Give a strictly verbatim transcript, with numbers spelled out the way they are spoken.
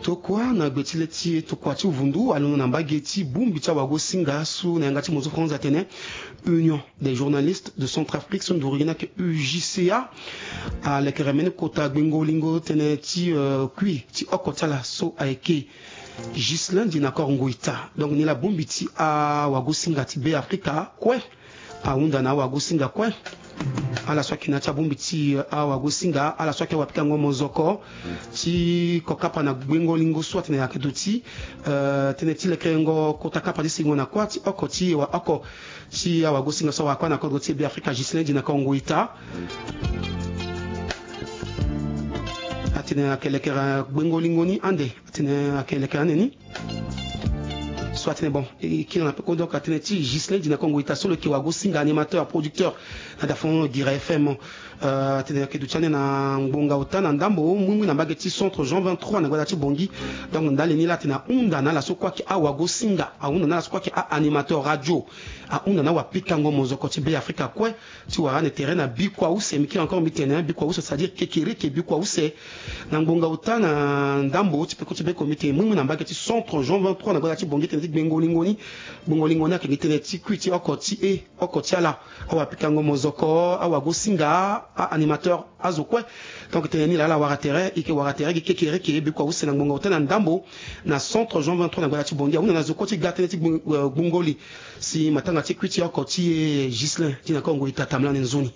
Tokua na gbe ti le ti e, tokua ti vundu alondo na mbage ti bongbi ti awagosinga so na yanga ti mozo France atene Union des journalistes de Centrafrique, so nduru gi na yeke U J C A, alekere mbeni kota gbengo-lingo tënë ti, euh, kui ti oko ti ala so ayeke Ghislain Dinacor Ngoïta. Donc ni laa bongbi ti awagosinga ti Be Afrika kue ahunda na awagosinga kue. Ala so ayeke na ya ti abongbi ti, euh, awagosinga, ala so ayeke awapikango mozoko ti kokapa na gbengo-lingo so atene ayeke duti, euh, tënë ti lekerengo kota kapa ti sengo na kuâ ti oko ti e wa oko ti awagosinga so awara kuâ na kodro ti e Be Afrika, Ghislain Dinacor Ngoïta. Atene ayeke lekere gbengo-lingo ni ande. Atene ayeke lekere ande ni. So atene bon, e kiri na peko, donc atene ti Ghislain Dinacor Ngoïta so lo yeke wagosinga, animateur, producteur na dafon Guira F M. Euh, atene ayeke duti ande na ngbonga ota na ndambo muimui na mbage ti centre Jean vingt-trois na gbata ti Bangui. Donc ndali ni laa atene ahunda na ala so kue ayeke awagosinga, ahunda na ala so kue ayeke a-animateur radio, ahunda na awapikango mozoko ti Be Afrika kue ti wara ande tere na bikua use. Mbi kiri encore mbi tene bikua use, c'est-à-dire kekereke bikua use. Na ngbonga ota na ndambo ti peko ti be comité muimui na mbage ti centre Jean vingt-trois na gbata ti Bangui, tënë ti gbengo-lingo ni. Gbengo-lingo ni ayeke gi tënë ti kui ti oko ti e, oko ti ala, awapikango mozoko, awagosinga, a-animateur azo kue. Donc tënë ni laa ala wara tere, e yeke wara tere gi kekereke bikua use na ngbonga ota na ndambo na centre Jean vingt-trois na gbata ti Bangui. Ahunda na zo kue ti ga tënë ti gbun-, euh, gbungo li. Si matanga ti kui ti oko ti e Ghislain Dinacor Ngoïta tamlani nzoni.